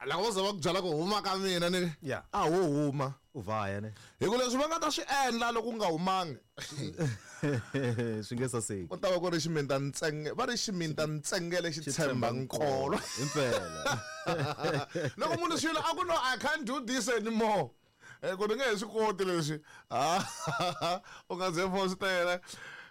Loko vo za va ku byela ku huma ka mina ni Yeah. a wo huma. U vaya ne. Hi ku leswi va nga ta swi endla loko u nga humangi. Swi nge saseki. Ku ta va ku ri ximintantsenge, va ri ximintantsengele xi tshemba nkolo. Impela. Loko munhu swilo a ku no I can't do this anymore. Ku ni nge he swi koti leswi. U nga ze fositela.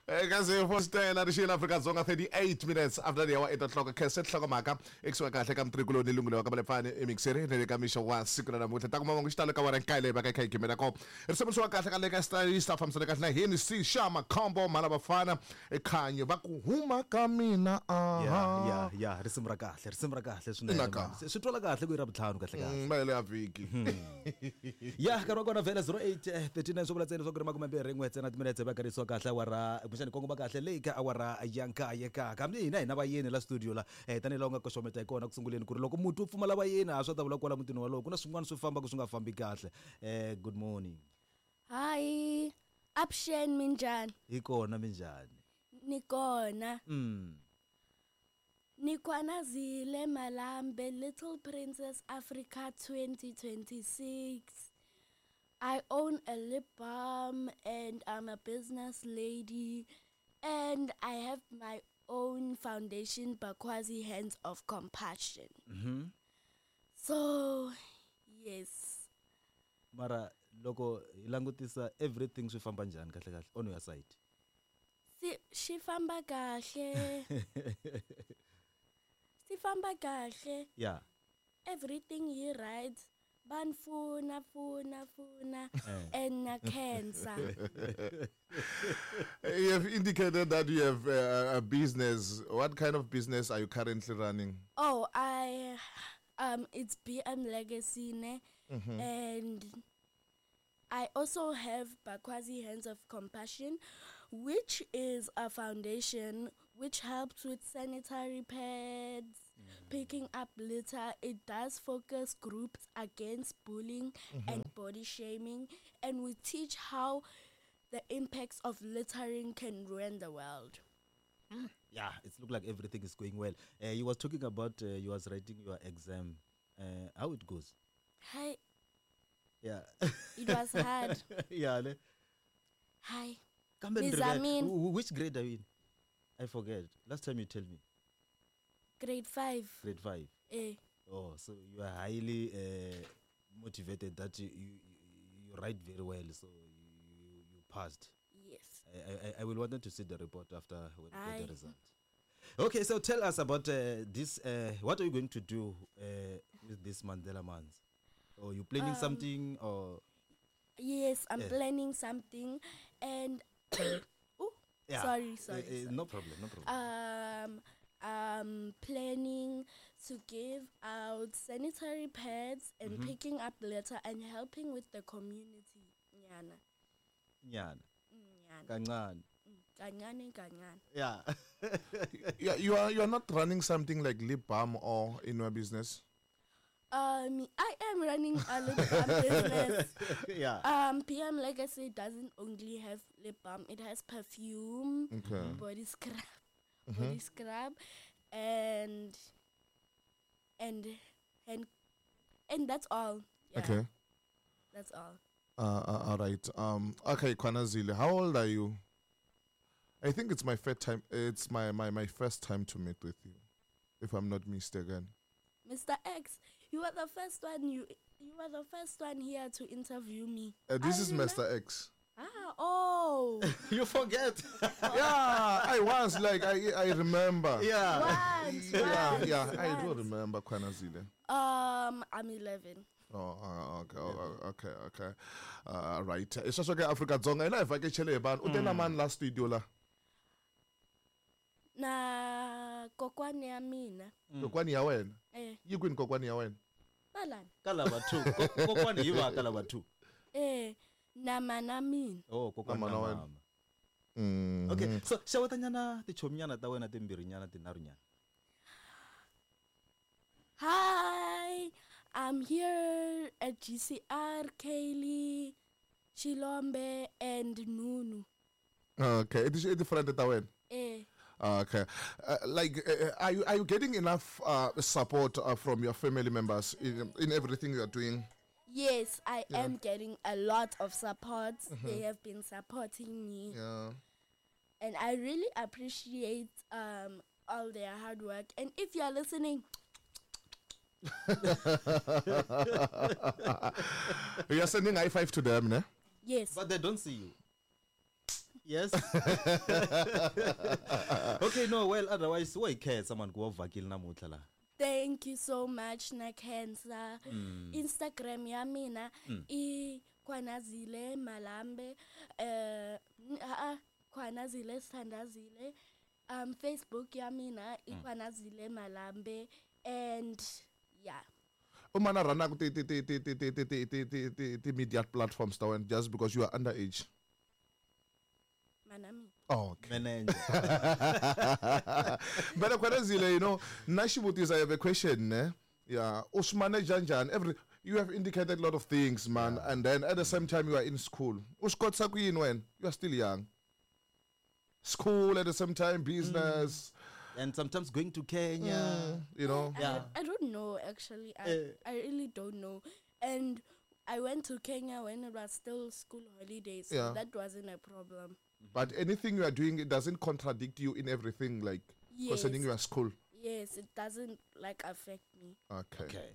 Eka ze fositela ri xiyile Afrika-Dzonga 38 minutes after the hour 8 o'clock. Khensa nhlokomhaka ekusuhi kahle ka mutirhikuloni ni lunghelo wa ka Malepfani emixeri ni le ka mixo wa siku ra namuntlha. Ta kuma mahungu xitalo ka wara nkaye leyi va ka yi kha yi gimela kona. Risimu swi wa kahle ka le ka stylist a fambisana kahle na hini si xa makhombo mhala vafana ekhanyo va ku huma ka mina aha. Ya ya ya risimu ra kahle risimu ra kahle swinene. Ina ka. Swi twala kahle ku i ra vutlhanu kahle kahle. Mahelo ya vhiki. Ya nkarhi wa kona vhele 08 39 swi vula ntsena leswaku ri makumembirhi n'we ntsena timinetse va karisiwa kahle awara kumbexani kongoma kahle leyi ka awara ya nkaye ka kambe hina hi na vayeni la studio la tanihi laha u nga koxometa hi kona ku sunguleni ku ri loko muti wu pfumala vayeni a swa ta vula kwala mutini walowo ku na swin'wana swi fambaka swi nga fambi kahle good morning. Hi, avuxeni minjhani? Hi kona minjhani? Ni kona. Ni Kwanazile Malambe, Little Princess Africa 2026. I own a lip balm and I'm a business lady and I have my own foundation, Bakwazi Hands of Compassion. So, yes. Mara loko hi langutisa everything swi famba njhani kahle kahle on your side? Si xi famba kahle. Swi famba kahle. Yeah. Everything yi right. Va ni pfuna pfuna pfuna and na khensa. You have indicated that you have a business. What kind of business are you currently running? Oh, I it's BM Legacy ne? And I also have Bakwazi Hands of Compassion, which is a foundation which helps with sanitary pads, picking up litter. It does focus groups against bullying and body shaming, and we teach how the impacts of littering can ruin the world. Yeah, it looks like everything is going well. You was talking about you was writing your exam. How it goes? Hi. Yeah. It was hard. Yeah. Ne? Hi. Kambe Miss Ndrebe, Amin. which grade are you in? I forget. Last time you tell me. Grade 5. Grade 5. Oh, so you are highly motivated that you write very well, so you passed. Yes. I will want to see the report after when you get the Aye. result. Okay, so tell us about this. What are you going to do with this Mandela Month? Or you planning something? Or Yes, I'm Yeah. planning something, and oh, Yeah. sorry, sorry, sorry. No problem, no problem. I'm planning to give out sanitary pads and picking up litter and helping with the community. Nyana. Nyana. Nyana. Kancane. Kancane, kancane. Yeah. Yeah, you are not running something like lip balm or in your business? I am running a lip balm business. Yeah. PM Legacy doesn't only have lip balm; it has perfume, body scrub, body scrub, and that's all. Yeah. Okay. That's all. All right. Okay, Kwanazile, how old are you? I think it's my first time. It's my first time to meet with you, if I'm not mistaken. Mr. X, you are the first one. You are the first one here to interview me. This I is remember Mr. X. Oh. You forget. Yeah, I was like, I remember. Yeah. Once, Yeah, once, yeah, I do once. remember Kwanazile. I'm 11. Oh, okay, oh, okay, okay. Right. It's just okay, Africa Dzonga. Ina vhakachele hi vanhu. U te na mani la studio la? Na kokwani ya mina. Kokwani ya wena? Yi kwini kokwani ya wena? Balani. Ka lava 2. Kokwani yi va ka lava 2. Na mana mina. Oh, kokwani Na mana na wena. mama. Okay, so xewetanyana tichominyana ta wena timbirhinyana tinharhunyana. Hi, I'm here at GCR, Kaylee, Chilombe and Nunu. Okay, i ti friend ta wena? Okay. Like, are you getting enough support from your family members in everything you are doing? Yes, I am getting a lot of support. They have been supporting me. And I really appreciate all their hard work. And if you are listening, You are sending high five to them, ne? Yes. But they don't see you. Yes. Okay, no, well, otherwise, wa hi khensa man ku va u vhakile namuntlha laha. Thank you so much, na khensa. Instagram ya mina i Khwanazile Malambe, Khwanazile Sithandazile. Facebook ya mina i Khwanazile Malambe and yeah. Umana rana ti ti ti ti ti ti ti ti ti ti ti ti media platforms ta wena just because you are underage. Manami. Oh, okay. Manager. But Khwanazile, na xivutiso, I have a question, ne? Yeah, u swi manage njhani? Every you have indicated a lot of things, man, and then at the same time you are in school. U swi kotisa ku yini wena? You are still young. School at the same time, business, And sometimes going to Kenya. You know. I don't know, actually. I really don't know. And I went to Kenya when it was still school holidays, so that wasn't a problem. But anything you are doing, it doesn't contradict you in everything, like concerning your school. Yes, it doesn't, like, affect me. Okay. Okay.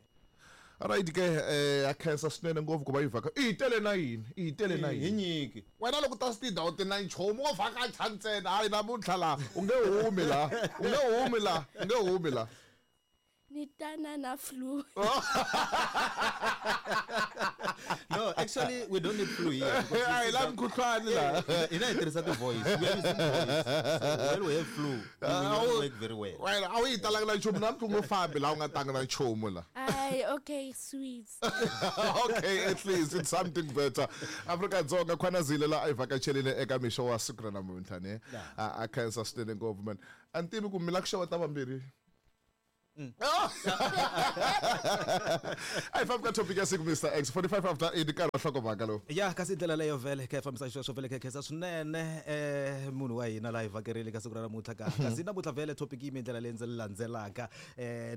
Alright ke, a khensa swinene ngopfu ku va yi vhaka. I hi tele na yini? I hi tele na Hi yini? nyiki. Wena loko ta swi tindhawu ti na nchumu wo vhakacha ntsena, hayi namuntlha laha u nge humi laha, u nge humi laha, u nge humi laha. Nitana na flu. No, actually, we don't need flu here because A hi this is lavi mukhuhlwani laha. Hina hi tirhisa ti-voice. We are using voice. So when we have flu, we will not work very well. Wena a wu yi talanga na nchumu namuntlha, u nge fambi laha u nga tanga na nchumu laha. Aye, okay, sweet. Okay, at least it's something better. Afrika Dzonga, Khwanazile la a hi vhakacherile eka mixo wa siku ra namuntlha, ne? A khensa swinene ngopfu, man. A ni tivi ku mi la ku xeweta vambirhi. A hi fambi ka topic ya siku, Mr X. 45 after 8, nkarhi wa nhlokomhaka lowu. Ya, kasi ndlela leyo vhele kha hi fambisa xisweswo vhele, kha hi khensa swinene munhu wa hina laha hi vhakerile ka siku ra namuntlha. Ka kasi namuntlha vhele topic yimi ndlela leyi ndzi landzelaka.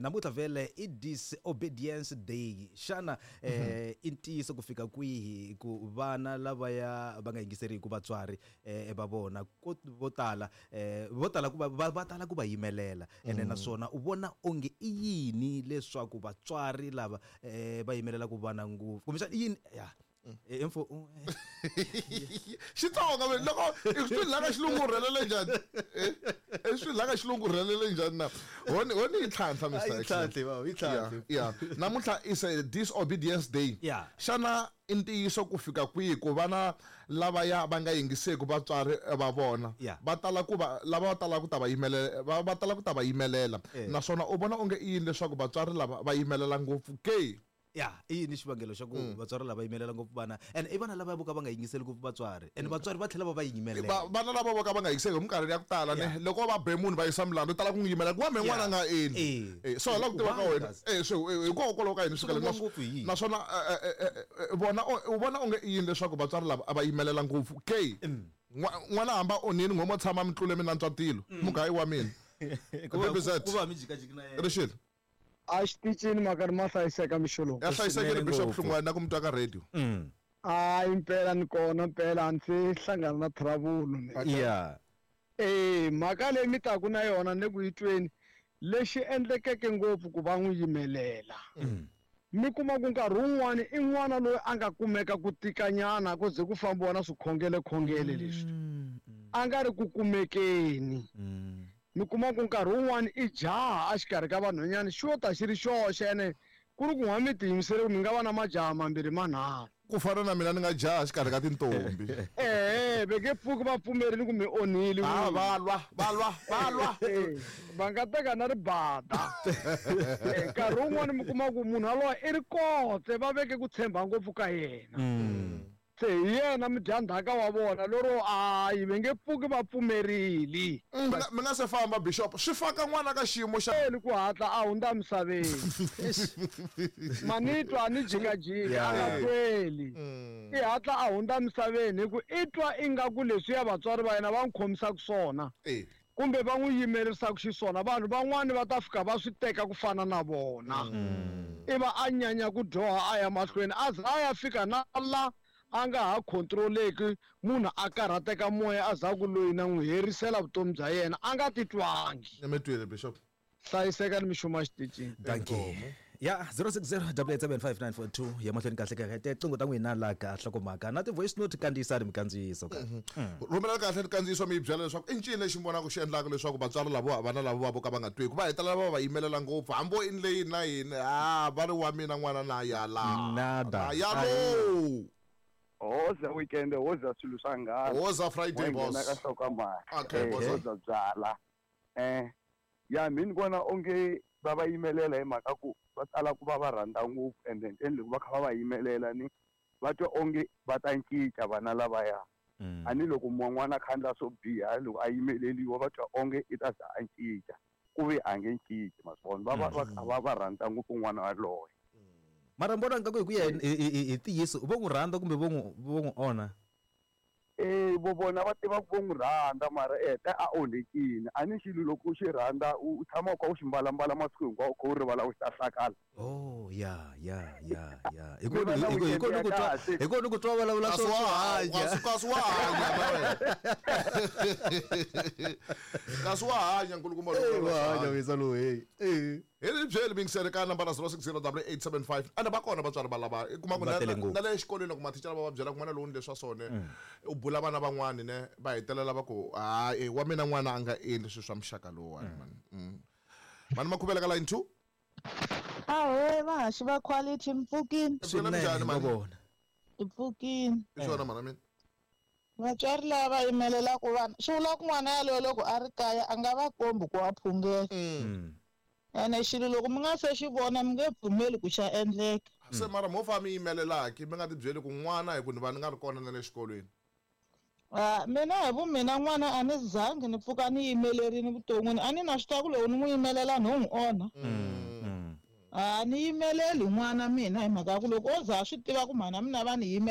Namuntlha vhele i Disobedience Day. Xana i ntiyiso ku fika kwihi ku vana lavaya va nga yingiseriki vatswari va vona vo tala vo tala ku va tala ku va yimelela, ene naswona u vona onge i yini leswaku vatswari lava va yimelelaka vana ngopfu, kumbexana i yini ya info Xitsonga ve, loko i swi laka xilungu rhelele njhani? I swi laka xilungu rhelele njhani na honi honi yi tlhantlha, Mr Yi X. tlhantlhe, baba, yi tlhantlhe. Yeah, namuntlha is a Disobedience Day. Xana i ntiyiso ku fika kwihi ku vana lavaya va nga yingiseki vatswari va vona va tala ku va lava va tala ku ta va yimelela, va tala ku ta va yimelela? Naswona u vona onge i yini leswaku vatswari lava va yimelela ngopfu ke? Ya, i yini xivangelo xa ku vatswari lava yimelela ngopfu vana, and i vana lava vo ka va nga yingiseli ngopfu vatswari, and vatswari va tlhela va va yimelela? Vana lava vo ka va nga yingiseki hi minkarhi ya ku tala, ne, loko va be munhu va yisa milandzu, tala ku n'wi yimela ku wa me n'wana a nga endli. So hi lava ku tiva ka Why wena. So hikokwalaho ka yini swi Swi kale ngopfu hi yini? Naswona vona u vona onge i yini leswaku vatswari lava a va yimelela ngopfu ke? N'wana hamba onhini n'we mo tshama mi tlule mi nantswa tilo mugayi wa mina. Baby Z. Ku va mi jikajiki na yena. Rixile. A xitichini mhaka ma hlayiseka mixo lowu. Ya hlayisekile. Swinene Bishop ngopfu. Hlungwani na ku mi twa ka radio. Hayi, impela ni kona, mpela a ndzi hlangana na trouble ni. Mhaka leyi mi taku na yona ni ku yi tweni, lexi endlekeke ngopfu ku va n'wi yimelela, mi kuma ku nkarhi wun'wani i n'wana loyi a nga kumeka ku tikanyana ku ze ku fambiwa na swikhongele khongele leswi a nga ri ku kumekeni. Mi kuma ku nkarhi wun'wani i jaha a xikarhi ka vanhwanyana, xi yo ta xi ri xoxe, ene ku ri ku n'wa mi tiyimisele ku mi nga va na majaha mambirhi manharhu. Ku fana na mina, ni nga jaha xikarhi ka tintombi. Ehe, ve nge pfuki va pfumerile ku mi onhile a n'wina. Va lwa, va lwa, va lwa. Va nga teka na ribada. Nkarhi wun'wani mi kuma ku munhu yaloye i ri kotse, va veke ku tshemba ngopfu ka yena, se hi yena mudyandzhaka wa vona lero hayi va nge pfuki va pfumerile. Mi nga se famba, Bishop, swi faka n'wana ka xiyimo xa Eli ku hatla a hundza misaveni, manitwa ni jikajika a nga tweli, i hatla a hundza misaveni hi ku i twa ingaku leswiya vatswari va yena va n'wi khomisaka swona. Kumbe va n'wi yimelerisaka xiswona, vanhu van'wani va ta fika va swi teka ku fana na vona. I va a nyanya ku dyoha a ya mahlweni, a za a ya fika na la a nga ha control-eki, munhu a karhateka moya a za ku loyi na n'wi herisela vutomi bya yena a nga titwangi. Ni mi twile, Bishop. Hlayiseka ni mixuma exitichini. Dankie. Ya 060 875 ya mahlweni kahle kahle tinqingho ta n'wina la ka nhlokomhaka na ti-voice note kandziyisani mikandziyiso ka. Rhumela kahle kandziyiso mi yi byela leswaku i ncini lexi mi vonaka xi endlaka leswaku vatswari lavo vana lavo vo ka va nga twiku va hetelela va va yimelela ngopfu hambi vo endle yini na yini a va ri wa mina n'wana na yala. Nada. Na yalo. Hoza weekend, hoza swilo swa nghala. Hoza Friday, Wa nghena boss. ka nhlokomhaka. Okay, boss. Hoza byala. Ya mina ni vona onge va va yimelela hi mhaka ku va tala ku va va rhandza ngopfu, and then loko va kha va va yimelela ni va twa onge va ta cinca vana lavaya. A ni loko n'wana a kha endla swo biha, loko a yimeleliwa va twa onge i ta za a cinca, ku ve a nge cinci, ma swi vona, va va va kha va va rhandza ngopfu n'wana waloye. Mara ni vona nga ku hi ku ya hi ntiyiso vo n'wi rhandza kumbe vo n'wi onha? Vo vona va tiva ku vo n'wi rhandza, mara heta a onhekile. A ni xilo loko u xi rhandza u tshama u kha u xi mbalambala masiku hinkwawo, u kha u rivala u xi ta hlakala. Oh, ya, ya, ya, ya. Hi Mi va na weekend ya kahle. Hi kona ku twa vulavula Kasi swo wa swo hanya, hanya. kasi wa hanya na wena. Kasi wa hanya nkulukumba lowu. Eh, wa hanya wisa lowu, hey. Eh. Hi ri byeli mingiseri ka nambara 060 875. Ende va kona vatswari va lava. I kuma ku Va tele ngopfu. na le xikolweni loko mathicara va va byela ku n'wana lowu ni leswa sone, u bula vana van'wani ne, va hetelela va ku, hayi, wa mina n'wana a nga endli swilo swa muxaka lowuwani, man. Mani Makhuvela ka line 2. Ahee, vahaxi va quality, mi pfukini? Swinene, Swinene, mhani. va vona. Hi pfukini. I swona, mhana mina. Vatswari lava va yimelelaka vana, swi vula ku n'wana yaloye loko a ri kaya a nga va kombi ku wa phungela. Ene xilo loko mi nga se xi vona mi nge pfumeli ku xa endleka. Se mara mo fa mi yimelelaki, mi nga ti byeli ku n'wana hi ku ni va ni nga ri kona na le xikolweni. Mina hi vu mina n'wana a ni zangi ni pfuka ni yimelerini vuton'wini, a ni na swi tiva ku loko ni n'wi yimelela ni n'wi onha. A ni yimeleli n'wana mina hi mhaka ya ku loko o za a swi tiva ku mhana mina va ni yimela.